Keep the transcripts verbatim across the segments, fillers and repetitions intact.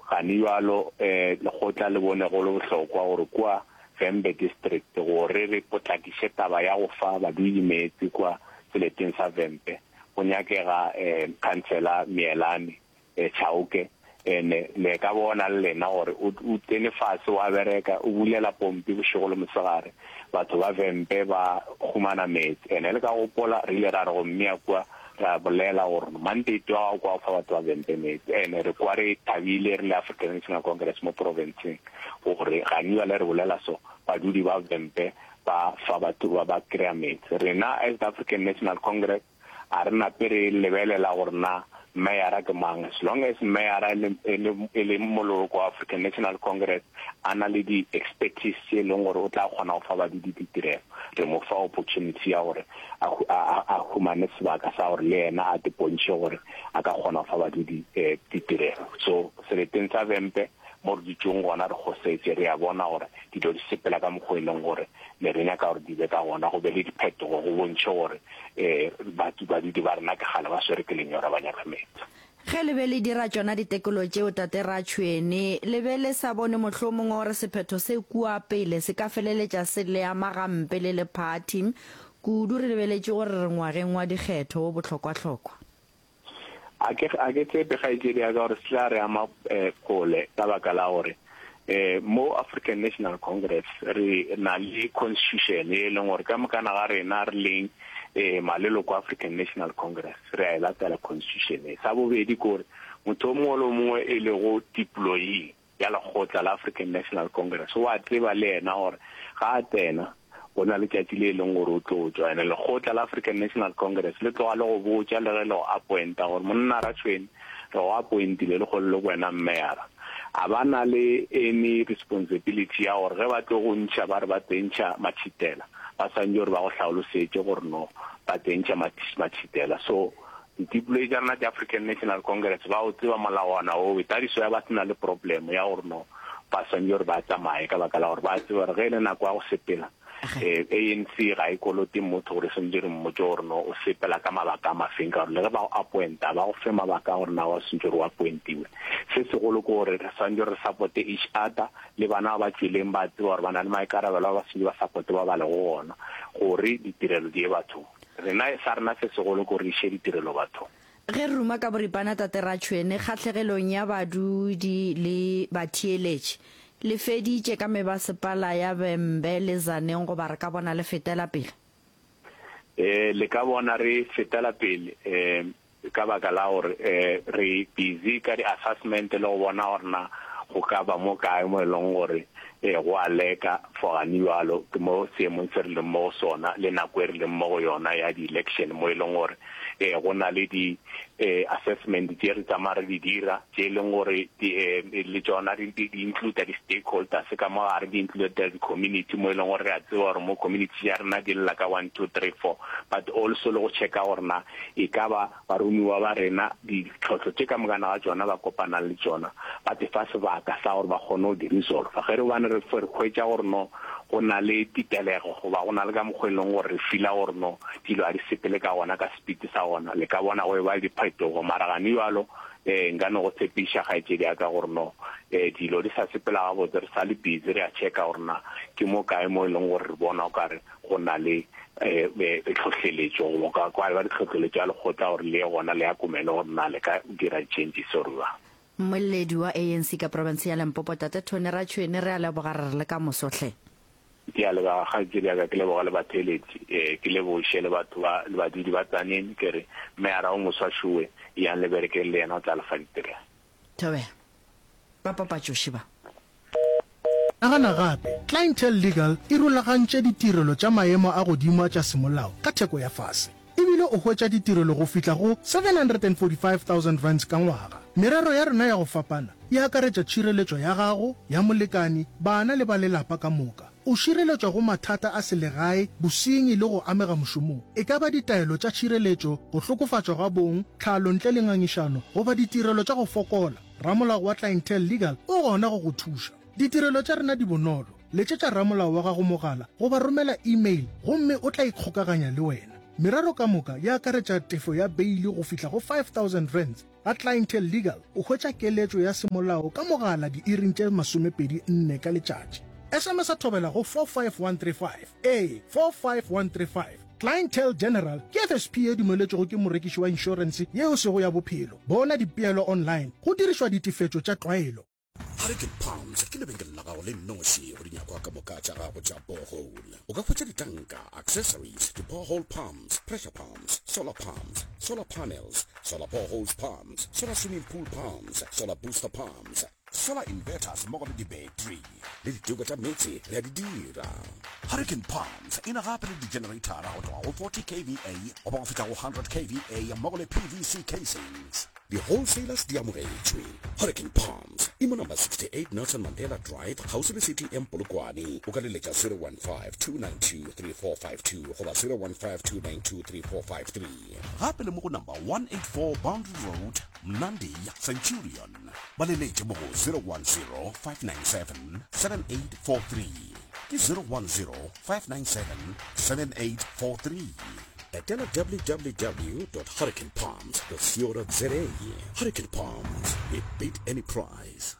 Gane bjalo um lekgotla le bone go le bohlokwa gore kua Vhembe District gore re potlakiše taba ya go fa badudi meetse kua seleteng sa Vhembe go nyakega um Councillor Mielane um Chauke. Ene le ka bona le lena gore o o tsene fase wa bereka, o bulela pompi bošego le mosegare, batho ba Vhembe ba humana meetse. Ene le ka gopola re ile ra re go mmea kua ra bolela gore mandate wa gago kwa go fa batho ba Vhembe meetse. Ene re kwa re thabile re le African National Congress mo provinceng gore gane bjale re bolela so badudi ba Vhembe ba fa batho ba ba kry-a meetse. Rena as the African National Congress a re nape re lebelela gore na meyara ke mang, as long as meyara e le e le e le moloko wa African National Congress a na le di-expertise tše e leng gore o tla kgona go fa badudi ditirelo, re mo fa opportunity ya gore a a a humane sebaka sa gore le yena a te pontšhe gore a ka kgona go fa badudi um ditirelo. So seleteng sa Vhembe mo re dutšeng gona re kgosetše, re a bona gore dilo di sepela ka mokgwa e leng gore ne re nyaka gore di be ka gona, go be le diphetogo, go bontšhe gore um batho badudi ba rena ke kgale ba swere ke lenyora ba nyaka meetse. Ge le be le dira tšona ditekolo tšeo, tate Ratšhwene, le be le sa bone mohlomongwe gore sephetho se kua pele se ka feleletša se le ama gampe le le party, kudu re lebeletše gore re ngwageng wa dikgetho wo bohlokwahlokwa? A ke a ke tshepe, kgaetšedi ya ka, gore se tla re ama um kgole, ka baka la gore um mo African National Congress re na le constitution e leng gore ka mokana ga rena re leng um maleloko African National Congress re a e latela constitution e. Sa bobedi ke gore motho o mongwe le o mongwe e lego deployee ya lekgotla la African National Congress o a tseba le yena gore ga a tsena go na letšatši le e leng gore o tlo tšwa. Ene lekgotla la African National Congress le tloga le go botša le ge le go appointa gore monna Ratšhweni re go appointile le kgole le wena meyara, a ba na le any responsibility ya gore ge ba tlo go ntšha ba re ba tsentšha matšhitela, ba swantše gore ba go hlaolosetše gore no ba tsentšha matšhitela. So dipoloi tša rena tša African National Congress ba o tseba molawana oo, tadiso ya ba sena le problem ya gore no ba swantše gore ba tsamaye, ka baka la gore ba tseba gore ge e le nako ya go sepela um A N C ga e kolote motho gore swantše re mmotse gore no o sepela ka mabaka a mafeng, ka gore le ge ba go appointa ba go fe mabaka a gore na wa swantše gore o appointiwe. Se segolo ke gore re swantše re supporte each other, le bana ba ba tšweleng ba tseba gore ba na le maikarabelo a ba swantše ba supporte ba ba lego gona gore ditirelo di ye bathong. Rena sa rena se segolo ke gore re iše ditirelo bathong. Ge re ruma ka boripana, tate Ratšhwene, kgahlegelong ya badudi le batheeletši, le feditše ka mebasepala ya Vhembe le Tzaneen goba re ka bona le fetela pele? um le ka bona re fetela pele um ka baka la gore um re busy ka di-assessment le go bona gore na go ka ba mo kae mo e leng gore um go a leka for gane bjalo. Ke mo seemong se re leng mo go sona le nako e re leng mo go yona ya di-election mo e leng gore um go na le di um assessment tše re tsamaya re di dira tše e leng gore le tšona di include di-stakeholders ka mo gare, di include di-community mo e leng gore re a tseba gore mo community ya rena di lla ka one two three four, but also le go checka gore na e ka ba baromiwa ba rena ditlhohlo tše ka mokana ga tšona ba kopanang le tšona ba te fa sebaka sa gore ba kgone go di resolve. Ge re bane re hwetša gore no go na le titelego goba go na le ka mokgwa e leng gore re feela gore no dilo ga di sepele ka gona ka speed sa gona, le ka bona go e ba le diphetogo. Mara gane jalo um nka no go tshepiša, kgaetšedi ya ka, gore no um dilo di sa sepela gabotse, re sa le busy re a checka gore na ke mo kae mo e leng gore re bona o kare go na le um tlhohleletšo goba kwa ba ditlhohleletšo ya lekgotla gore le ye gona le ya komele gore na le ka dira changes or jwang. Mmoleledi wa A N C ka province ya Limpopo, tate Tony Ratšhwene, re a leboga, re re le ka mosohle. Ke a leboga, kgaetšedi ya ka, ke leboga le batheeletši, um ke leboše le batho ba le badudi ba Tzaneen, ke re meyara o moswa šowe yang le berekeng le yena, o tla le fa ditirelo. Thobela ba papatšoši ba. Nagana gape, Clientele Legal e rulagantše ditirelo tša maemo a godimo tša semolao ka theko ya fase. Ebile o hwetša ditirelo go fihla go seven hundred and forty-five thousand rands ka ngwaga. Merero ya rena ya go fapana e akaretša tšhireletšo ya gago, ya molekani, bana le ba lelapa ka moka. O šireletšwa go mathata a selegae, bosenyi le go amega mošomong. E ka ba ditaelo tša tšhireletšo, go hlokofatšwa ga bong, tlhalo ntle le ngangišano, goba ditirelo tša go fokola. Ramolao wa Clientele Legal o gona go go thuša. Ditirelo tša rena di bonolo. Letšetša ramolao wa gago mogala goba romela email gomme o tla ikgokaganya le wena. Merero ka moka e akaretša tefo ya beile go fihla go five thousand rands. Ga Clientele Legal o hwetša keletšo ya semolao ka mogala diiring tše masomepedi nne ka letšatši. S M S a Thobela go four five one three five. Ee, four five one three five. Clientele General ke F S P ye dumeletšwego ke morekiši wa inšorense yeo e sego ya bophelo. Bona dipeelo online go dirišwa ditefetšo tša tlwaelo. Hurricane Palms ke lebenkele la gago le nnoši go dinyakwa ka moka tša gago tša borehole. O ka hwetša ditanka, accessories, di-borehole pumps, pressure pumps, solar pumps, solar panels, solar boreholes pumps, solar swimming pool pumps, solar booster pumps, solar inverters mmogo le di-battery le diteko tša meetse re a di dira. Hurricane Palms e na gape le di-generator go tloga go forty K V A goba go fihla go hundred K V A mmogo le P V C casings. Di-wholesalers di amogetšwe. Hurricane Palms e mo number sixty-eight Nelson Mandela Drive kgauswi le C T M Polokwane. O ka leletša zero one five two nine two three four five two goba zero one five two nine two three four five three. Gape le mo go number one eight four Boundary Road, Mnandi, Centurion. Ba leletše mo go zero one zero five nine seven seven eight four three. Ke zero one zero five nine seven seven eight four three. Etela w w w dot hurricane palms dot co dot za. Hurricane Palms, we beat any price.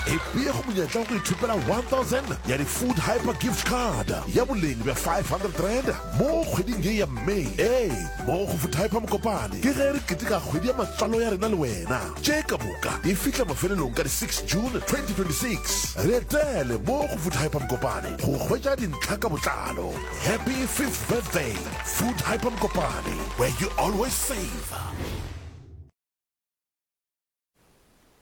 E go monyetla wa go ithopela one thousand ya di-Food Hyper Gift Card ya boleng bja five hundred rand mo kgweding ye ya May. Ee, mo go Food Hyper Mokopane ke ge re keteka kgwedi ya matswalo ya rena le wena. Tše ka moka di fihla mafelelong ka di six June twenty twenty-six. Re etele mo go Food Hyper Mokopane go hwetša dintlha ka botlalo. Happy fifth birthday, Food Hyper Mokopane, where you always save.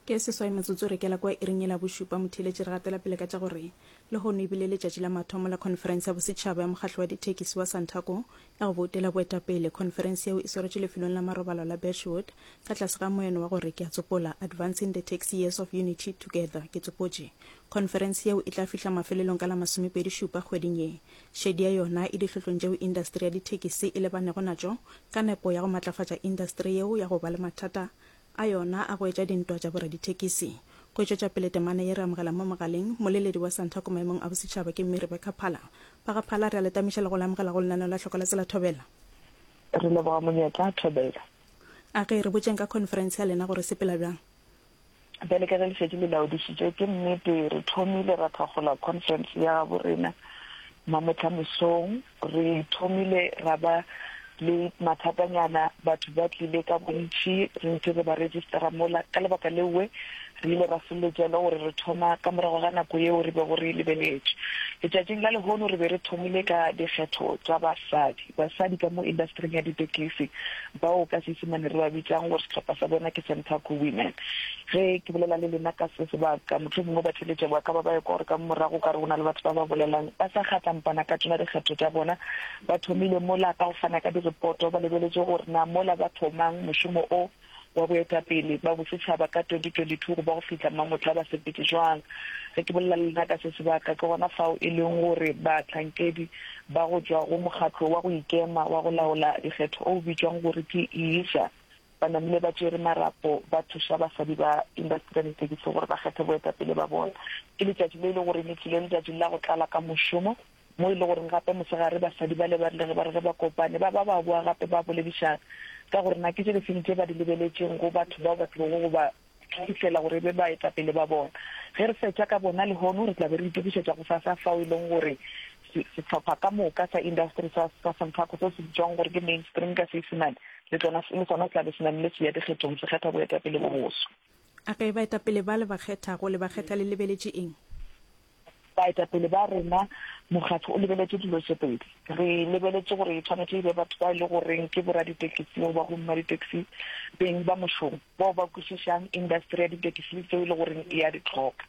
Ke seswai metsotso re kela kwa iring e la bošupa motheeletši re gatela pele ka tša gore lehono e bile letšatši la mathomo la conference ya bosetšhaba ya mokgatlo wa dithekisi wa Santaco ya go boutela boetapele. Conference yeo e swaretšwe lefelong la marobalo la Birchwood ka tlase ga moeno wa gore ke a tsopola Advancing the Taxi Years of Unity Together. Ke tsopotše. Conference yeo e tla fihla mafelelong ka la masomepedi šupa kgweding ye. Šedi ya yona e dihlohlong tšeo industry ya dithekisi e lebanego natšo ka nepo ya go matlafatša industry yeo ya go ba le mathata a yona a go etša dintwa tša boradithekisi. Go tšwetša pele temana ye re amogela mo mogaleng moleledi wa Santaco maemong a bosetšhaba ke mme Rebecca Phala. Ba ga Phala re a letamiša le go le amogela go lenaneo la Hloko la Tsela Thobela. Re leboga monyetla Thobela. A ge re botšeng ka conference ya lena gore sepela bjang? Bjale ka ge le šetše le laodišitše, ke nnete re thomile ra thakgola conference ya gabo rena mamotlha mesong. Re thomile ra ba le mathatanyana, batho ba tlile ka bontši, re ntse re ba registera mola. Ka lebaka lewe re ile ra feleletša le gore re thoma ka morago ga nako yeo re bego re e lebeletše. Letšatšing la lehono re be re thomile ka dikgetho tša basadi, basadi ka mo industryng ya ditekisi bao ka Seisemane re ba bitsang gore sehlopha sa bona ke Santaco Women. Ge ke bolela le lena ka se sebaka, mohlomongwe ba theletše ba ka ba ba ekwa gore ka morago ka re go na le batho ba ba bolelang ba sa kgatlampana ka tšona dikgetho tša bona. Ba thomile mola ka go fana ka direpoto, ba lebeletše gore na mola ba thomang mošomo o wa boetapele ba bosetšhaba ka twenty twenty-two go ba go fihla mamotla ba sepetse jwang. Ge ke bolela le lena ka se sebaka, ke gona fao e leng gore bahlankedi ba go tšwa go mokgatlo wa go ikema wa go laola dikgetho o bitšwang gore ke I S A ba namile ba tšere marapo ba thuša basadi ba industry ya ditekisi gore ba kgethe boetapele ba bona. Ke letšatši le e le gore le tlile letšatši la go tlala ka mošomo mo e le goreng gape mosegare basadi ba le ba rile ge ba re ge ba kopane ba ba ba boa gape ba boledišana ka gore na ke tše difeng tše ba di lebeletšeng go batho bao ba tlilego go ba fihlela gore e be baetapele ba bona. Ge re fetša ka bona lehono re tla be re itokišetša go sasa fao e leng gore sehlopha ka moka sa industry sa sa Santaco se se bitswang gore ke mainstream ka Seisemane le tsona le sona se tla be se namile se ya dikgethong se kgetha boetapele bo boso. A ge baetapele ba le ba kgethago le ba kgetha le lebeletše eng? Baetapele ba rena mokgatlo o lebeletše dilo tše pedi. Re lebeletše gore e tshwanetse e be batho ba e le goreng ke boraditekisi goba go mmaditekisi beng ba mošomo bao ba kwešišang industry ya ditekisi tseo e le goreng e ya di tlhoka.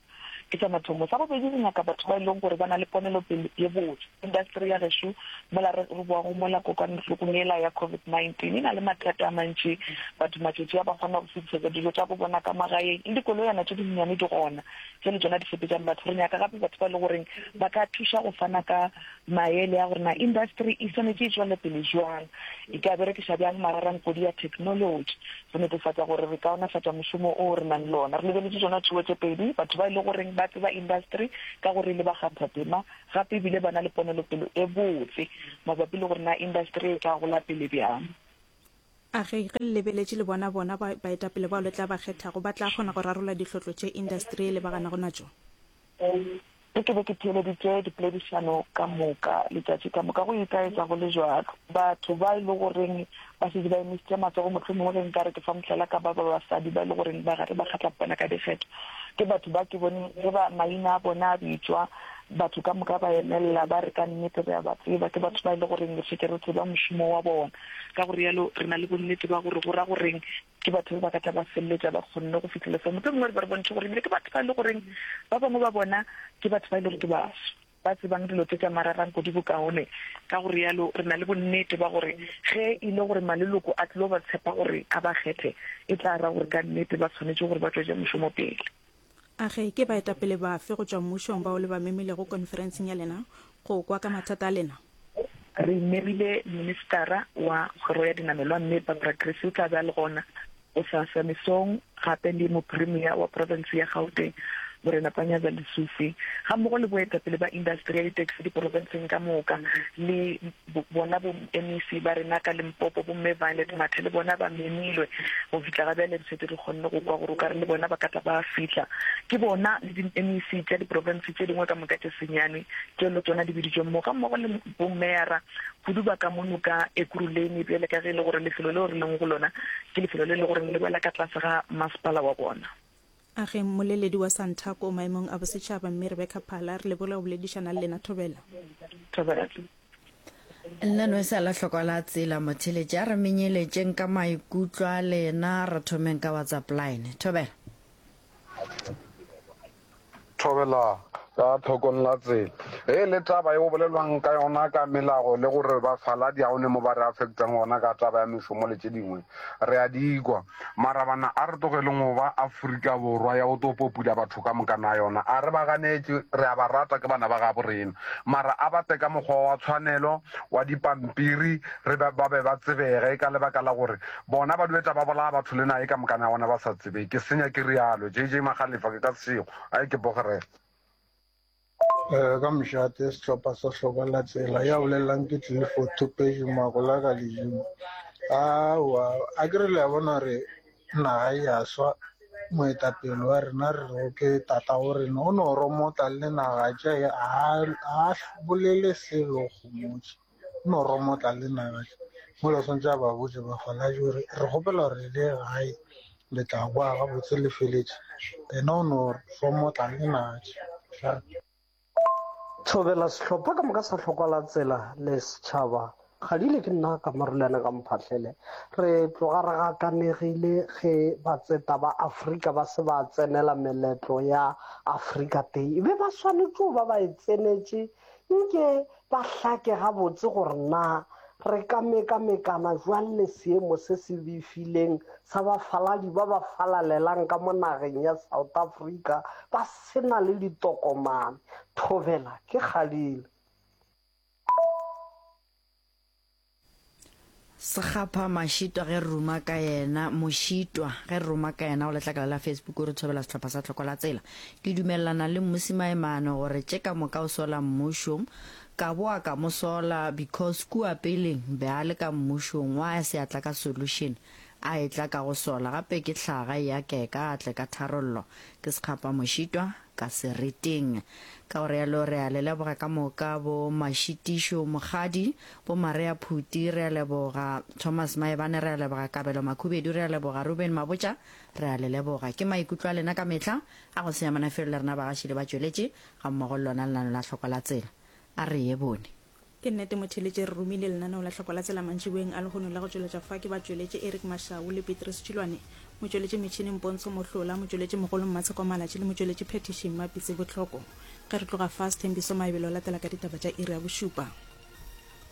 Ke sa mathomo. Sa bobedi re nyaka batho ba e leng gore ba na le ponelopele ye botse. Industry ya gešo mola re re boago mola kokwanahlokong yela ya COVID nineteen e na le mathata a mantši. Batho matšatši a ba kgona go fetišetša dijo tša bo bona ka magaeng le dikoloyana tše dinnyane di gona tše le tšona di sepetšang batho. Re nyaka gape batho ba e le goreng ba ka thuša go fana ka maele a gore na industry e swanetše e tšwele pele jwang, e ka berekiša bjang mararankodi ya technology go netefatša gore re kaonafatša mošomo o re nang le ona. Re lebeletše tšona tšeo tše pedi, batho ba e le goreng ba tseba industry ka gore le bakgathatema, gape ebile ba na le ponelopele e botse mabapi le gore na industry e ka gola pele bjang. A ge, ge le lebeletše le bona bona ba, baetapele bao le tla ba kgethago, ba tla kgona go rarolla dihlotlo tše industry e lebaganago natšo? Ge ke be ke theeleditše dipoledišano ka moka letšatši ka moka, go itaetša go le bjalo. Batho ba e le goreng ba šetše ba emišitše matsogo, mohlomongwe ge nka re ke fa mohlala ka ba ba basadi ba e le goreng ba gare ba kgatlapana ka dikgetho, ke batho ba ke boneng ge ba maina a bona a bitšwa, batho ka moka ba emelela ba re ka nnete re a ba tseba, ke batho ba e le goreng re šetše re tseba mošomo wa bona. Ka go realo re na le bonnete ba gore go ra goreng ke batho ba ba ka tla ba feleletša ba kgonne go fihlela seo. Mohlomongwe re be re bontšhe gore ebile ke batho ba e le goreng ba bangwe ba bona ke batho ba e le gore ke baswa, ba tsebang dilo tše tša mararang kudu bokaone. Ka go realo re na le bonnete ba gore ge e le gore maleloko a tlilo ba tshepa gore a ba kgethe, e tla ra gore ka nnete ba swanetše gore ba tšwetše mošomo pele. A ge ke baetapele bafe go tšwa mmušong bao le ba memilego konferenseng ya lena go kwa ka mathata a lena? Re memile Ministara wa Kgoro ya Dinamelwa Mme Barbara Creecy, o tla be a le gona gosasa mesong, gape le Mopremia wa profense ya Gauteng Morena Panyaza Lesufi, gammogo le boetapele ba indasteri ya ditaxi diprofenseng ka moka le bona bo M E C ba rena ka Limpopo, bo Mme Violet Mathe le bona ba memilwe. Go fihla ga bjale re šetše re kgonne go kwa gore o ka re le bona ba ka tla ba fihla. Ke bona le di M E C tša diprofense tše dingwe ka moka tše senyane tšeo le tšona di biditšweng mo, gammogo le bomeyara kudu ba ka mono ka Ekurhuleni, bjale ka ge e le gore lefelo leo re leng go lona ke lefelo le le gore le wela ka tlase ga masepala wa bona. A ge mmoleledi wa Santaco maemong a bosetšhaba Mme Rebecca Phala, re leboge go boledišana le lena. Thobela. Thobela. Nna no sa la hlokwa la tsela motheletše, a re menyeletšeng ka maikutlo a lena, re thomeng ka WhatsApp line. Thobela. Thobela ka tlhokong la tsela. Ge e le taba ye go bolelwang ka yona ka melago le gore bafaladi ga go ne mo ba re affectang gona ka taba ya mešomo le tše dingwe, re a di kwa. Mara bana a re tlogeleng go ba Afrika Borwa ya go tlo popula batho ka moka na yona. A re ba ganetše, re a ba rata, ke bana ba gabo rena. Mara a ba tle ka mokgwa wa tshwanelo wa dipampiri, re ba, ba be ba tsebege ka lebaka la gore bona ba duetla ba bolaya batho le naye ka moka na yona ba sa tsebe. Ke senya ke rialo. J J Magalefa ke ka sešego. A ke bogere. Eh, ka mošate sehlopha sa hloka la tsela ya bolelang ke Clifford Thopedi Magola ka Ledimo. Aowa, a ke re le a bona re naga e a swa, moetapele wa rena re re ke tata go rena o no romotla le naga tše a a bolele selo kgomotše, o no romotla le naga tše. Mola swantse a ba botse bafaladi gore re kgopela gore le ye gae le tla boa gabotse le feletše, ena o no romotla le naga tše. Thobela sehlopha ka moka sa hlokwa la tsela le setšhaba. Kgadile ke nna ka Marulana ka Mphahlele. Re tloga re gakanegile ge batseta ba Afrika ba se ba tsenela meletlo ya Afrika Day. E be ba swanetše go ba ba e tsenetše nke ba hlake gabotse gore na re ka mekamekana jwang le seemo se se befileng sa bafaladi ba ba falalelang ka mo nageng ya South Africa ba sena le ditokomane. Thobela ke Kgadile. Sekgapha Mašitwa ge re ruma ka yena, Mošitwa ge re ruma ka yena go letlakala la Facebook o re thobela sehlopha sa tlhoko la tsela. Ke dumelelana le Mmusi Maimane gore tše ka moka o sola mmušo, ka boa ka mo sola because kua peleng be a le ka mmušong wa se atla ka solution a etla ka go sola gape ke hlaga ya keka a tle ka tharollo. Ke Sekgapha Mošitwa ka sereteng. Ka gore yalo re a le leboga ka moka bo Mašitišo Mokgadi, bo Maria Phuti re a leboga, Thomas Maebane re a leboga, Kabelo Makhubedu re a leboga, Ruben Mabotja re a le leboga. Ke maikutlo a lena ka mehla a go senya manafelo le rena bagaši le batšweletši ga mmogo le lona lenano la tlhoko la tsela. A re ye bone. Ke nnete motheletše re romile lenaneo la tlhoko la tsela mantšiboeng a lehono la go tšweletša fa ke batšweletše Eric Mashau le Petrus Tšhilwane, motšweletši metšhineng Pontsho Mohlola, motšweletši mogolo Mmatsheko Malatši le motšweletši Phetiši Mmapitse Botlhoko. Ge re tloga fa, Sthembiso Maebelo latela ka ditaba tša iri ya bošupa.